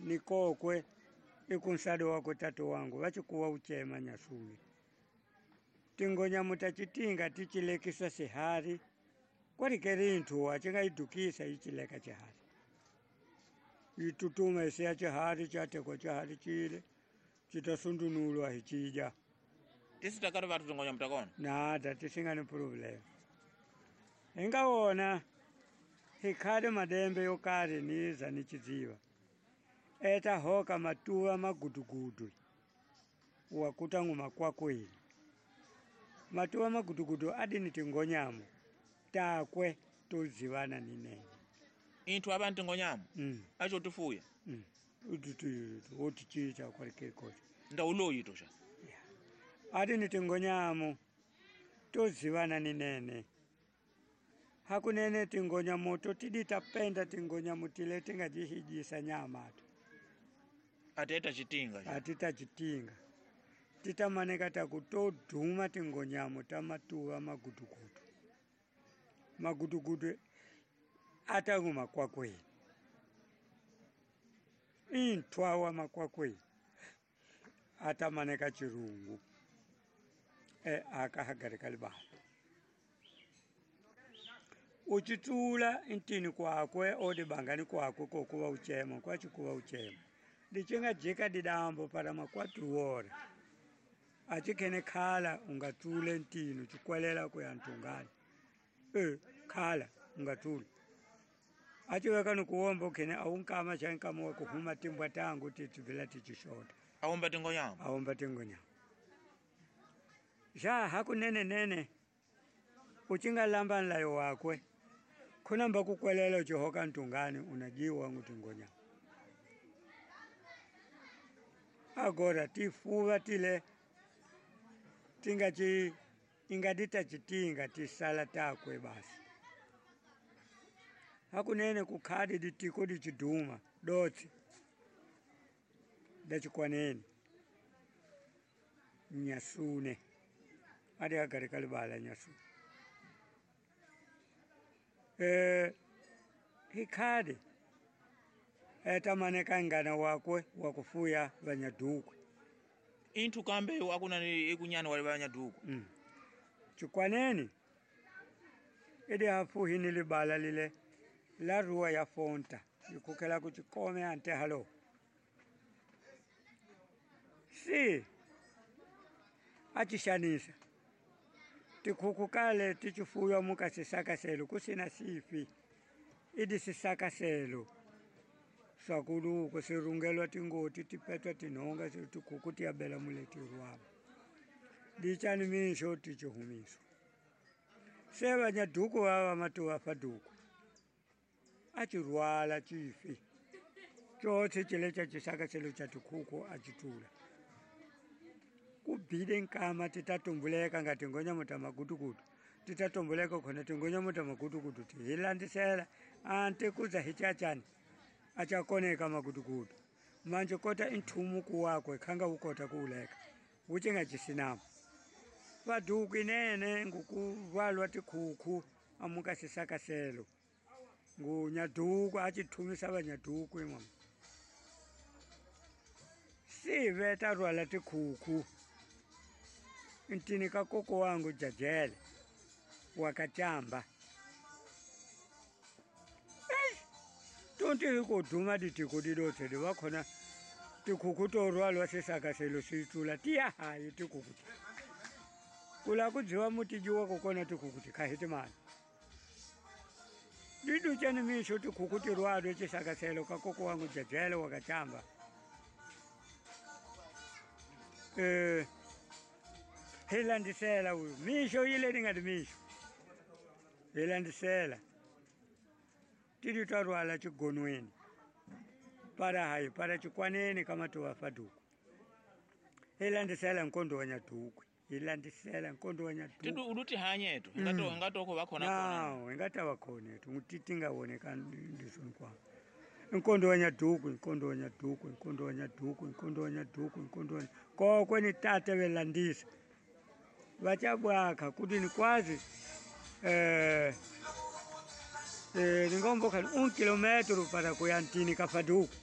Ni kokwe ikunsado wako tato wangu vachikuwa uchema Nyasuni. Tingonyamu tachitinga tichilekisa sihari kwalikeri inthu achingaidukisa ichileka chihari. Itutuma isiya chihari chatekwa chihari chile chitasundunulwa hichija. Tisitakati vatu tingonyamu takona? Nada tisingani problem. Ingawona hikhale madembe yokari niza nichidziwa. Eta hoka matuwa magudugudu wakuta nguma kwakweli. Matuwa magudugudu adi tingonyamo takwe tozivana ninene. Inthu aba ntingonyamo? Acho tufuya? Utichicha kwalikekoti. Ndauloyi tosha. Yeah. Adi tingonyamo tozivana ninene. Hakunene tingonyamo totiditapenda tingonyamo tile tingajihijisa nyama tu. Ateta chitinga. Atita chitinga. Titamaneka takutodhuma tingonyamo tamatuwa magudugudu. Magudugudu atanguma kwakweli. Intwawa makwakweli. Atamaneka chirungu. Akahagarika libala. Uchitula intini kwakwe odibangani kwakwe kokuwa uchema kwachikuwa uchema. Dichinga jika didambo para makwatuora. Achikene khala ungatule ntini uchikwelela kuyantungani. Khala ungatule. Achiweka nukuomba ukene aunkama chankama wakuhuma timbwa tangu tituvila tichishota. Aomba tingonyama. Aomba tingonyama. Ja hakunene nene. Uchinga lamba nlayo wakwe. Kuna mbakukwelela uchihoka ntungani unajiwa ngutingonyama. Agora tifuva tile tingachi ingadita chitinga tisala takwe basi. Hakunene kukhadi ditiko dichiduma dotsi dachikwanene Nyasune adi agarika libala Nyasune. Hikhadi etamaneka ngana wakwe wakufuya vanyadukwe. Inthu kambe akuna ikunyana wale vanyadukwe. Chikwaneni idi hafuhi ni libala lile la rua ya fonta ikukela kuchikome ante halo. Si achishanisa tikukukale tichifuya mukasisakaselo kusina sifi idi sisakaselo. Sakuluko sirungelwa tingoti tipetwa tinonga tikuku tiyabela muletirwabo. Dichani misho tichihumiso. Seva nyaduku wawa matuwa faduku. Achirwala chifi. Chotse chile cha chisakaselo cha tikuku achitula. Kubide nkama titatumbuleka ngati ngonyamo tamagudugudu. Titatumbuleka khona tingonyamo tamagudugudu tihilandisela ante kuza hichachani. Achakoneka magudugudu. Manje kota inthumu wakwe khanga ukota kuuleka. Uchinga chisinamo. Vaduku inene ngukuvalwa tikhukhu amuka sisakaselo. Ngunyaduku achithumisa vanyaduku imwe. Sive tarwala tikhukhu. Ntini ka koko wangu jajele wakachamba. Tonti kuduma ditiko didotse dibakhona tikhukhu torwalwa sisakaselo sitsula tiya hayi tikhukhu. Kula kudziwa mutijiwa kokona tikhukhu tikhahitimana. Diduchani misho tikhukhu tirwalwe chisakaselo ka koko wangu jajele wakachamba. Hilandisela uyu misho ile ningati misho. Hilandisela. Tidi tarwala chigonweni. Para hayi para chikwaneni kama tuwafaduku. Hilandisela nkondo wanyaduku. Hilandisela nkondo wanyaduku. Tidu uluti hanyetu. Ingatoko bakhona khona. Nawo ingata bakhona ethu ngititinga woneka ndisoni kwa. Nkondo wanyaduku, nkondo wanyaduku, nkondo wanyaduku, nkondo wanyaduku, nkondo wanya. Kokwe ni tate belandisa. Vachabwaka kuti nikwazi ningomboka 1 kilometro para kuyantini kafaduku.